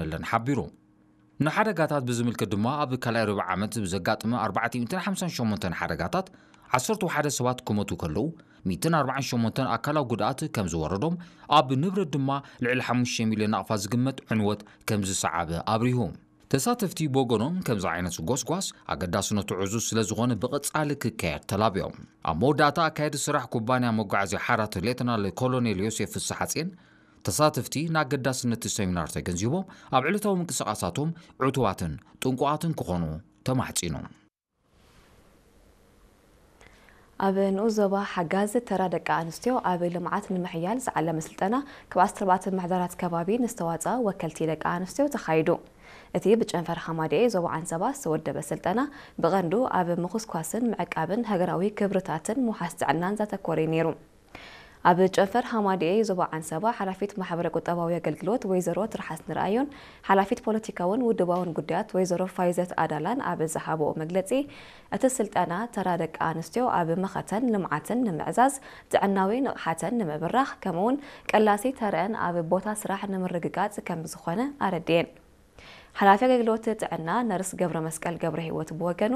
ነለን ሓቢሩ። ንሓደጋታት ብዝምልከት ድማ፣ ኣብ ካልኣይ ርብዒ ዓመት ብዘጋጠመ ኣርባዕተ ሚእትን ሓምሳን ሸሞንተን ሓደጋታት፣ ዓሰርተ ሓደ ሰባት ክሞቱ ከለዉ፣ ሚእትን ኣርባዓን ሸሞንተን ኣካላዊ ጉድኣት ከም ዝወረዶም፣ ኣብ ንብረት ድማ ልዕሊ ሓሙሽተ ሚልዮን ናቕፋ ዝግመት ዕንወት ከም ዝሰዓበ ኣብሪሁ። ተሳተፍቲ ብወገኖም፣ ከምዚ ዓይነት ጎስጓስ ኣገዳስነቱ ዕዙዝ ስለ ዝኾነ፣ ብቐጻሊ ክካየድ ተላብዮም። ኣብ መወዳእታ፣ ኣካየዲ ስራሕ ኩባንያ መጓዓዝያ ሓራት ሌተናል ኮሎኔል ዮሴፍ ፍስሓጽዮን፣ ተሳተፍቲ ንኣገዳስነት እቲ ሰሚናር ተገንዚቦም፣ ኣብ ዕለታዊ ምንቅስቓሳቶም ዕቱባትን ጥንቁቓትን ክኾኑ ተማሕጺኑ። ኣብ ንኡስ ዞባ ሓጋዝ ተራ ደቂ ኣንስትዮ ኣብ ልምዓት ንምሕያል ዝዓለመ ስልጠና ካብ ዓሰርተ ኣርባዕተ ምምሕዳራት ከባቢ ንዝተዋፅኣ ወከልቲ ደቂ ኣንስትዮ ተኻይዱ። እቲ ብጨንፈር ሓማድኤ ዞባ ዓንሰባ ዝተወደበ ስልጠና ብቐንዱ ኣብ ምኹስኳስን ምዕቃብን ሃገራዊ ክብርታትን ምውሓስ ጥዕናን ዘተኮረ እዩ ነይሩ። ኣብ ጨንፈር ሃማድኤ ዞባ ዓንሰባ ሓላፊት ማሕበረ ቁጠባዊ ኣገልግሎት ወይዘሮ ትርሓስ ንርኣዮን ሓላፊት ፖለቲካውን ውድባውን ጉዳያት ወይዘሮ ፋይዘት ኣዳላን ኣብ ዝሃብኦ መግለጺ፣ እቲ ስልጠና ተራ ደቂ ኣንስትዮ ኣብ መኸተን ልምዓትን ንምዕዛዝ፣ ጥዕናዊ ንቕሓተን ንምብራኽ፣ ከምኡውን ቀላሲ ተረአን ኣብ ቦታ ስራሕ ንምርግጋጽ ከም ዝኾነ ኣረድኤን። ሓላፊ ኣገልግሎት ጥዕና ነርስ ገብረ መስቀል ገብረ ህይወት ብወገኑ፣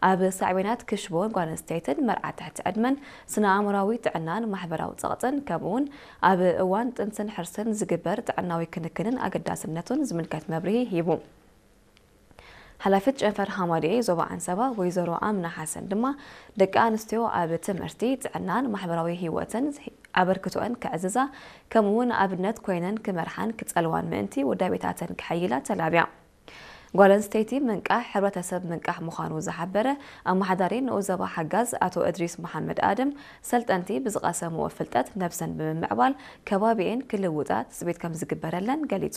ኣብ ሳዕቤናት ክሽቦ ጓል ኣንስተይትን መርዓ ትሕቲ ዕድመን ስነ ኣእምራዊ ጥዕናን ማሕበራዊ ጸቕጥን፣ ከምኡውን ኣብ እዋን ጥንስን ሕርስን ዝግበር ጥዕናዊ ክንክንን ኣገዳስነቱን ዝምልከት መብርሂ ሂቡ። ሓላፊት ጨንፈር ሃማድኤ ዞባ ዓንሰባ ወይዘሮ ኣምና ሓሰን ድማ፣ ደቂ ኣንስትዮ ኣብ ትምህርቲ፣ ጥዕናን ማሕበራዊ ህይወትን ኣበርክቶአን ከዕዝዛ፣ ከምኡውን ኣብነት ኮይነን ክመርሓን ክጸልዋን ምእንቲ ውዳቤታተን ከሐይላ ተላብያ። ጓል ኣንስተይቲ ምንቃሕ ሕብረተሰብ ምንቃሕ ምዃኑ ዝሓበረ ኣመሓዳሪ ንኡስ ዞባ ሓጋዝ ኣቶ እድሪስ መሓመድ ኣድም፣ ሰልጠንቲ ብዝቐሰምዎ ፍልጠት ነብሰን ብምምዕባል ከባቢኤን ክልውጣ ትጽቢት ከም ዝግበረለን ገሊጹ።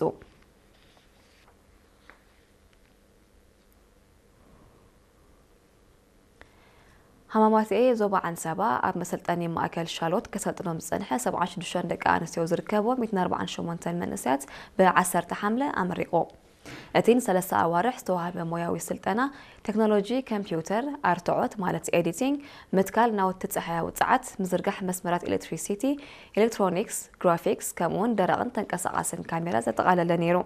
ሃማማትኤ ዞባ ዓንሰባ ኣብ መሰልጠኒ ማእከል ሻሎት ከሰልጥኖም ዝጸንሐ ሰብዓን ሽዱሽተን ደቂ ኣንስትዮ ዝርከብዎ ሚእትን ኣርባዓን ሸሞንተን መንእሰያት ብዓሰርተ ሓምለ ኣመሪቑ። እቲ ንሰለስተ ኣዋርሕ ዝተዋህበ ሞያዊ ስልጠና፣ ቴክኖሎጂ ኮምፒውተር፣ ኣርትዖት ማለት ኤዲቲንግ፣ ምትካል ናውቲ ጸሓያዊ ጸዓት፣ ምዝርጋሕ መስመራት ኤሌክትሪሲቲ፣ ኤሌክትሮኒክስ፣ ግራፊክስ፣ ከምኡውን ደረቕን ተንቀሳቓስን ካሜራ ዘጠቓለለ ነይሩ።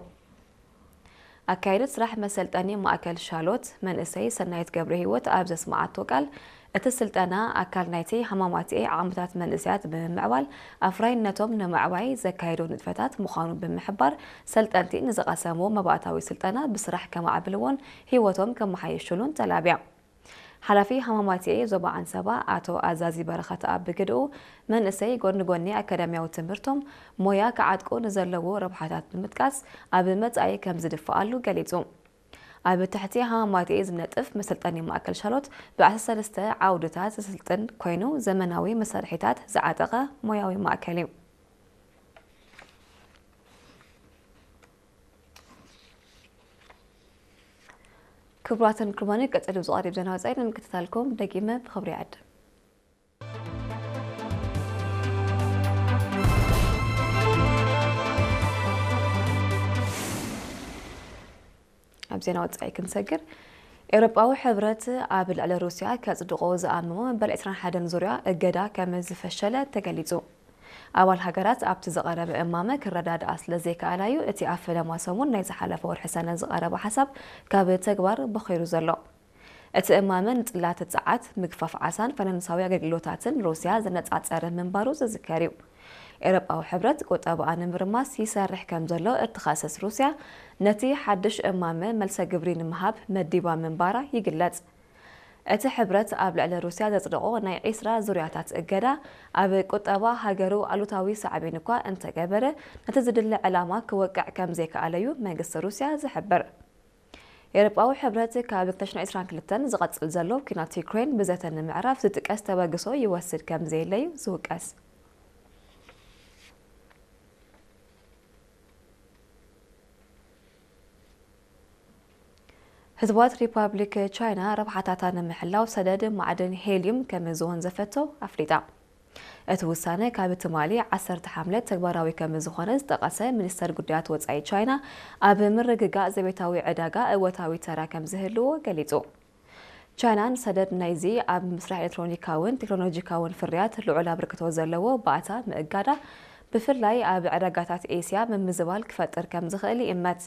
ኣካየዲት ስራሕ መሰልጠኒ ማእከል ሻሎት መንእሰይ ሰናይት ገብረ ህይወት ኣብ ዘስመዓቶ ቃል፣ እቲ ስልጠና ኣካል ናይቲ ሃማማትኤ ዓቕምታት መንእሰያት ብምምዕባል ኣፍራይነቶም ንምዕባይ ዘካየዶ ንጥፈታት ምዃኑ ብምሕባር፣ ሰልጠንቲ ንዝቐሰምዎ መባእታዊ ስልጠና ብስራሕ ከማዕብልዎን ህይወቶም ከመሓየሽሉን ተላብያ። ሓላፊ ሃማማትኤ ዞባ ዓንሰባ ኣቶ ኣዛዚ በረኸት ኣብ ብግድኡ፣ መንእሰይ ጎኒ ጎኒ ኣካዳሚያዊ ትምህርቶም ሞያ ክዓጥቁ ንዘለዎ ረብሓታት ብምጥቃስ፣ ኣብ መጻኢ ከም ዝድፍኣሉ ገሊጹ። ኣብ ትሕቲ ሃማማትኤ ዝነጥፍ መሰልጠኒ ማእከል ሻሎት ብ ዓሰርተ ሰለስተ ዓውድታት ዘሰልጥን ኮይኑ፣ ዘመናዊ መሳርሒታት ዝዓጠቐ ሞያዊ ማእከል እዩ። ክቡራትን ክቡራንን፣ ቀጺሉ ዝቐርብ ዜና ወጻኢ ንምክትታልኩም ደጊመ ብኽብሪ ይዕድም። ኣብ ዜና ወጻኢ ክንሰግር፣ ኤውሮጳዊ ሕብረት ኣብ ልዕሊ ሩስያ ከጽድቆ ዝኣመሞ መበል ዕስራን ሓደን ዙርያ እገዳ ከም ዝፈሸለ ተገሊጹ። ኣባል ሃገራት ኣብቲ ዝቐረበ እማመ ክረዳድኣ ስለ ዘይከኣላ እዩ እቲ ኣብ ፈለማ ሰሙን ናይ ዝሓለፈ ወርሒ ሰነ ዝቐረበ ሓሳብ ካብ ተግባር በኺሩ ዘሎ። እቲ እማመ ንጽላት ጸዓት፣ ምግፋፍ ዓሳን ፋይናንሳዊ ኣገልግሎታትን ሩስያ ዘነጻጸረ ምንባሩ ዝዝከር እዩ። ኤውሮጳዊ ሕብረት ቁጠባኣ ንምርማስ ይሰርሕ ከም ዘሎ እትኸስስ ሩስያ፣ ነቲ ሓድሽ እማመ መልሰ ግብሪ ንምሃብ መዲባ ምንባራ ይግለጽ። እቲ ሕብረት ኣብ ልዕሊ ሩስያ ዘጽደቖ ናይ ዒስራ ዙርያታት እገዳ፣ ኣብ ቁጠባ ሃገሩ ኣሉታዊ ሳዕቤን እኳ እንተገበረ፣ ነቲ ዝድለ ዕላማ ክወቅዕ ከም ዘይከኣለ እዩ መንግስቲ ሩስያ ዝሕብር። ኤውሮጳዊ ሕብረት ካብ ክልተ ሽሕን ዕስራን ክልተን ዝቐጽል ዘሎ ኲናት ዩክሬን ብዘተ ንምዕራፍ ዝጥቀስ ተበግሶ ይወስድ ከም ዘየለ እዩ ዝውቀስ። ህዝባዊት ሪፓብሊክ ቻይና ረብሓታታ ንምሕላው ሰደድ ማዕድን ሄልዩም ከም ዝወንዘፈቶ ኣፍሊጣ። እቲ ውሳነ ካብ ትማሊ ዓሰርተ ሓምለ ተግባራዊ ከም ዝኾነ ዝጠቐሰ ሚኒስተር ጉዳያት ወጻኢ ቻይና፣ ኣብ ምርግጋእ ዘቤታዊ ዕዳጋ እወታዊ ተራ ከም ዝህልዎ ገሊጹ። ቻይና ንሰደድ ናይዚ ኣብ ምስራሕ ኤሌክትሮኒካውን ቴክኖሎጂካውን ፍርያት ልዑል ኣበርክቶ ዘለዎ ባእታ ምእጋዳ፣ ብፍላይ ኣብ ዕዳጋታት ኤስያ ምምዝባል ክፈጥር ከም ዝኽእል ይእመት።